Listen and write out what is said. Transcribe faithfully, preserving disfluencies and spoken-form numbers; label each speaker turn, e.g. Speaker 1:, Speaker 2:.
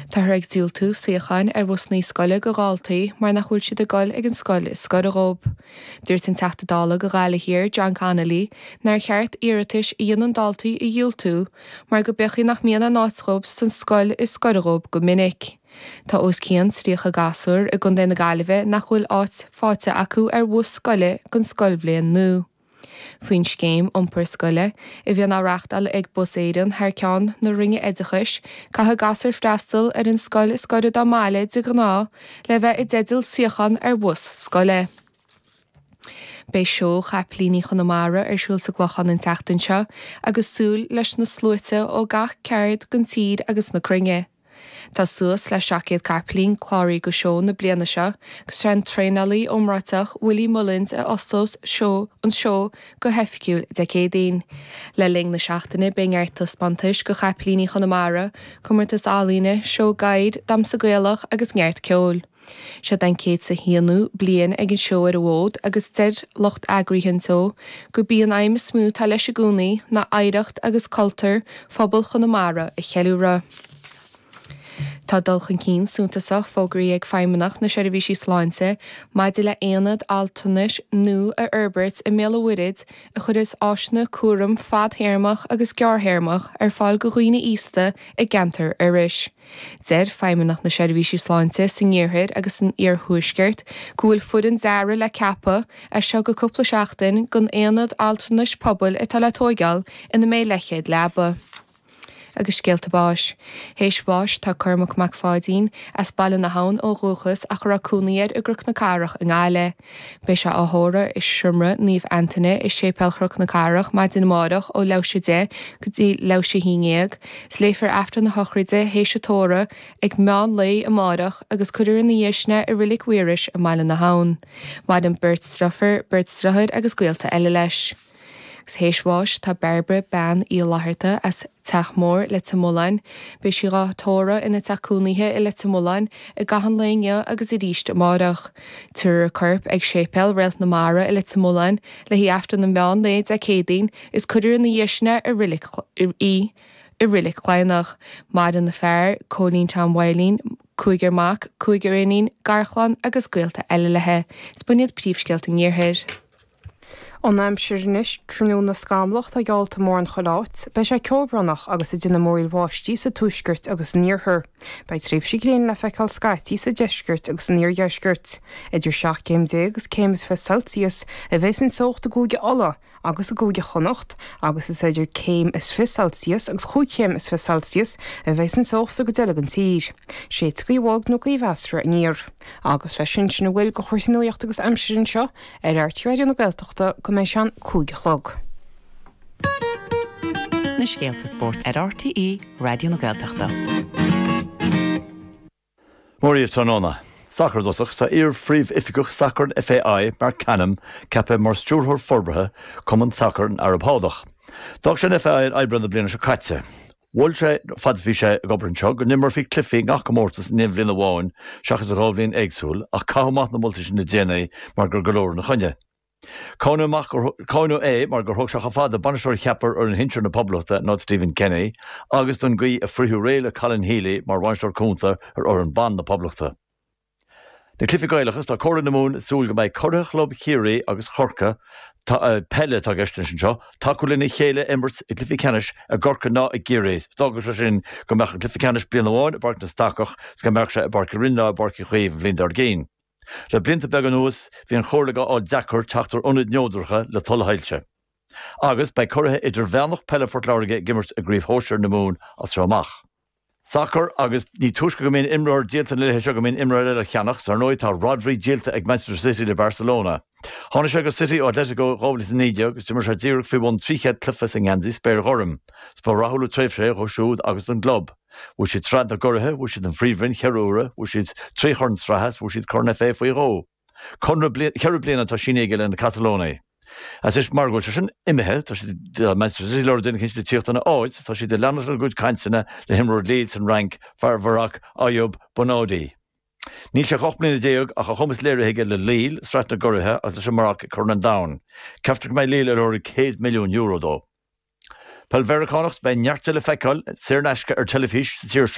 Speaker 1: Táthar ag diúltú suíocháin ar bhusanna scoile go dhaltaí mar nach bhfuil siad ag dul ag an scoil is gaire dóibh. Dúirt an Teachta Dála do Ghaillimh Thiar John Connolly nár cheart iarratais a dhéanann daltaí a dhiúltú mar go b'fhéidir nach mbíonn an áit dóibh san scoil is gaire dóibh go minic. Tá os cionn tríocha gasúr i gContae na Gaillimhe nach bhfuil áit faighte acu ar bhus scoile don scoilbhliain nua. Faoin scéim iompar scoile a bhíonn á reáchtáil ag Bus Éireann thar ceann na Roinne Oideachais, caithfidh gasúir freastal ar an scoil is gaire dá mbaile de ghnáth le bheith i dteideal suíochán ar bhus scoile. Beidh seó Chapaillíní Chonamara ar siúl sa gClochán an tseachtain seo agus súil leis na sluaite ó gach ceard den tír agus na cruinne. Tá suas le seacht gcéad capaillín cláraithe go seó na bliana seo, agus sé an traenálaí iomráiteach Willie Mullins a osclós seó an seó go hoifigiúil Dé Céadaoin. Le linn na seachtaine beidh neart taispeántais go Chapaillíní Chonamara, comórtas ealaíne, seó gadhair, damhsa Gaelach agus neart ceoil. Seo an céad is a haonú bliain ag an seó ar an bhfód agus deir lucht eagraithe an tseó gurb í an aidhm is mó atá leis i gcónaí ná oidhreacht agus cultúr phobal Chonamara a cheiliúradh. Tá dul chun cinn suntasach fógraithe ag Feidhmeannacht na Seirbhísí Sláinte maidir le aonad altranais nua a fhorbairt i mBéal an Mhuirthead a chuirfeas áiseanna cúram fadtéarmach agus gearrthéarmach ar fáil go dhaoine aosta i gceantar Iorrais. Deir Feidhmeannacht na Seirbhísí Sláinte san iarthar agus san iarthuaisceart go bhfuil foireann dearaidh le ceapadh as seo go cúpla seachtain don aonad altranais pobail atá le tógáil ina mbeidh leathchéad leaba. agus scéalta báis. Théis bháis tá Cormac Mac Pháidín as Baile na hAbhann ó dhúchas ach a raibh cónaí air i gCnoc na Cathrach i nGaillimh. Beidh sé á thórramh i Seomra Naomh Antaine i Séipéal Chnoc na Cathrach maidin amárach ó leathuair tar éis a deich go dtí leathuair tar éis a haon déag, is léifear Aifreann na sochraide théis an tórraimh ag meán lae amárach agus cuirfear ina dhiaidh sin é i Reilig Mhaorais i mBaile na hAbhann. Maireann beirt deirfiúr, beirt deartháir agus gaolta eile leis. Théis bháis tá Bairbre Bean Uí Fhlatharta as Teach Mór Leitir Mealláin, Beidh sí á tórramh ina teach cónaithe i Leitir Mealláin i gcaitheamh an lae inniu agus arís amárach. Tabharfar a corp ag Séipéal Réalt na Mara i Leitir Mealláin le haghaidh Aifreann an mheán lae Dé Céadaoin is cuirfear ina dhiaidh sin é i reilig í i Reilig Chladhnach. Maireann a fear, Cóilín Tom Mhaidhlín, cúigear mac, cúigear iníon, garchlann agus gaolta eile léi. Is b'in iad príomhscéalta an iarthair.
Speaker 2: An aimsir anois tráthnóna scamallach atá geallta mórán chuile áit, beidh sé ceobhránach agus ag déanamh múraíl bháistí sa tuaisceart agus san iarthar. Beidh tréimhsí gréine le feiceáil scaití sa deisceart agus san iardheisceart. Idir seacht gcéim déag agus céim is fiche Celsius a bheas an teocht i gCúige Uladh agus i gCúige Chonnacht agus is idir céim is fiche Celsius agus chúig chéim is fiche Celsius a bheas an teocht sa gcuid eile den tír. Séidfidh gaoth bhog nó gaoth mheasartha aniar. Agus leis sin sin a bhfuil de chúrsaí nuachta agus aimsire anseo ar R T Raidió na Gaeltachta go mbeidh sé an cúig a chlog.
Speaker 3: Na scéalta spóirt ar R T E Raidió na Gaeltachta.
Speaker 4: Mór tráthnóna. Sacar i dtosach tá iar-phríomhoifigeach sacair an F A I Marc Canham ceaptha mar stiúrthóir forbartha Cumann Sacair an Araib Shádach. D'fhág sé an F A I in Aibreán na bliana seo caite. Mhol sé fad bhí sé ag obair anseo go n-imreofaí cluichí gach comórtas in aon bhliain amháin seachas a dhá bhliain éagsúil ach caitheadh amach na moltaí sin le déanaí mar gur go leor ina choinne. Cáineadh é mar gur thóg sé chomh fada bainisteoir a cheapadh ar fhoireann shinsir na Poblachta ná Stephen Kenny agus don gcaoi a fritheadh réidh le Colin Healy mar bhainisteoir cúnta ar fhoireann ban na Poblachta. Na cluichí Gaelacha tá Comhairle na Mumhan ag súil go mbeidh curaidh chlub Chiarraí agus Chorcaí peile atá i gceist anseo tacú lena chéile imirt i gcluiche ceannais i gCorcaigh ná i gCiarraí. D'fhágfadh sé sin go mbeadh an cluiche ceannais bliain amháin i bPáirc na Stacach is go mbeadh sé i bPáirc Uí Rinn ná i bPáirc Uí Chaoimh an bhliain dár gcionn. Le blianta beaga anuas bhí an chomhairle á fháil deacair teacht ar ionaid neodracha le tuilleadh soilse. Agus beidh curaithe idirmheánach peile Phort Láirge ag imirt i gCraobh Shóisir na Mumhan as seo amach. Sacar agus ní túisce go mbíonn imreoir díolta na laetha seo go mbíonn imreoir eile á cheannach, ar ndóigh tá Rodri díolta ag Manchester City le Barcelona. Tháinig sé go City ó Atletico dhá mhíle naoi déag agus d'imir sé díreach faoi bhun trí chéad cluiche sa ngeansaí spéirghorm. Is ba rathúil an tréimhse é dó siúd agus don gclub. Bhuaigh siad sraith na gcuraithe, bhuaigh siad an phríomhroinn ceithre huaire, bhuaigh siad trí chorn sraithe, bhuaigh siad corn F A faoi dhó. Conradh ceithre bliana atá sínithe aige le na Catalónaigh. As is mar go bhfuil sé sin imithe tá siad Manchester City ag lorg duine le tíocht ina áit, tá siad ag leanacht lena gcuid cainteanna le himreoir Lille san Fhrainc fear Mharoc Ayoub Bouaddi. Níl sé ocht mbliana déag ach a chumas léirithe aige le Lille, Sraith na gCuraithe agus leis an Maroc ag Corn an Domhain. Ceaptar go mbeidh Lille ag lorg céad milliún euro dó. Peil Mheiriceánach beidh neart le feiceáil saor in aisce ar teilifís sa tír